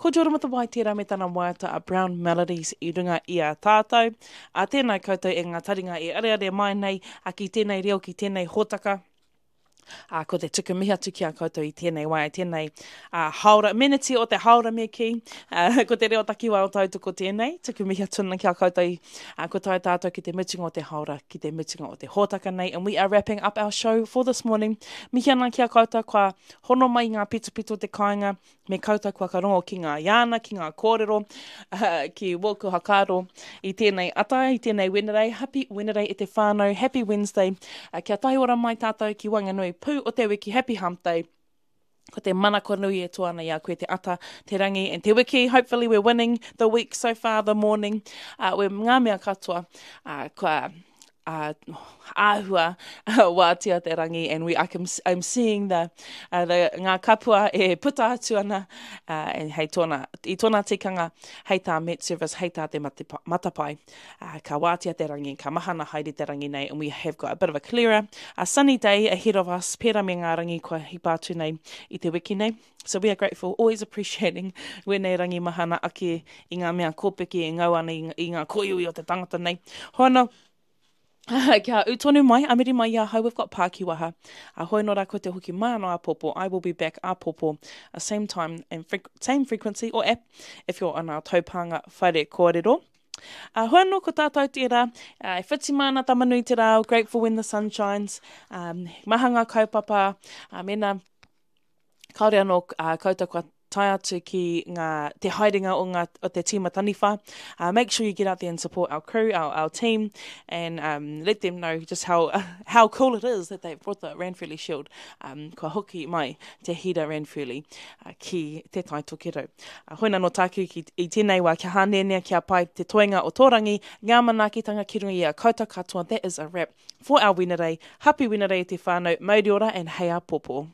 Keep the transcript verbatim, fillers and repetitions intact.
Ko Jordan Matawai tērā me tana waiata a Brown Melodies i runga i a tātou. A tēnā koutou e ngā taringa e areare mai nei a ki tēnei reo, ki tēnei hōtaka. A, ko te tuku mihi atu ki a koutou i tēnei wā, i tēnei uh, haora, meneti o te haora me kī. Uh, ko te reo takiwā o tautoko tēnei, tuku mihi atu ana ki a koutou. Uh, ko tae tātou ki te mutunga o te haora, ki te mutunga o te hōtaka nei. And we are wrapping up our show for this morning. Mihi ana ki a koutou kua hono mai i ngā pitopito o te kāinga, me koutou kua karongo ki ngā iāna, ki ngā kōrero, uh, ki wōku hakaaro i tēnei ata, i tēnei Wenerei. Happy Wenerei e te whānau, Happy Wednesday. Uh, kia tahi ora mai tātou ki waenganui pū o te wiki, Happy Hump Day. Ko te manako nui e toa ana i a koe te ata, te rangi and te wiki. Hopefully we're winning the week so far, the morning. Uh, we ngā mea katoa. Uh, kua uh, āhua wātea te rangi and we, I can, I'm seeing the, uh, the, ngā kapua e puta atu ana uh, and hei tōna, i tōna tikanga hei tā Met Service, hei tā te matepa, matapai. Uh, ka wātea te rangi, ka mahana haere te rangi nei and we have got a bit of a clearer, a sunny day ahead of us, pērā me ngā rangi kua hipa atu nei i te wiki nei. So we are grateful, always appreciating wēnei rangi mahana ake i ngā mea kōpeke e ngau ana i, i ngā koiui o te tangata nei. Hoana, kia ū tonu mai, amiri mai i ahau, we've got Pākiwaha. A hoi nō rā ko te hoki mai anō āpōpō, I will be back āpōpō, uh, same time and fre same frequency or app if you're on our taupānga whare kōrero. Uh, hoi anō ko tātou tērā, uh, e whiti mana tamanui te rā, grateful when the sun shines, um, maha ngā kaupapa, uh, mena kāore anō uh, koutou kua tae atu ki ngā, te haerenga o, ngā, o te tīma taniwha. Uh, make sure you get out there and support our crew, our, our team, and um, let them know just how, how cool it is that they've brought the Ranfurly Shield. Um, kua hoki mai te hira Ranfurly uh, ki te Tai Tokerau. Uh, hoina no tāku ki, i tēnei wā kia hānenea kia pai te toenga o tōrangi, ngā manaakitanga ki runga i a koutou katoa. That is a wrap for our Wenerei. Happy Wenerei te whānau, mauri ora and hei āpōpō.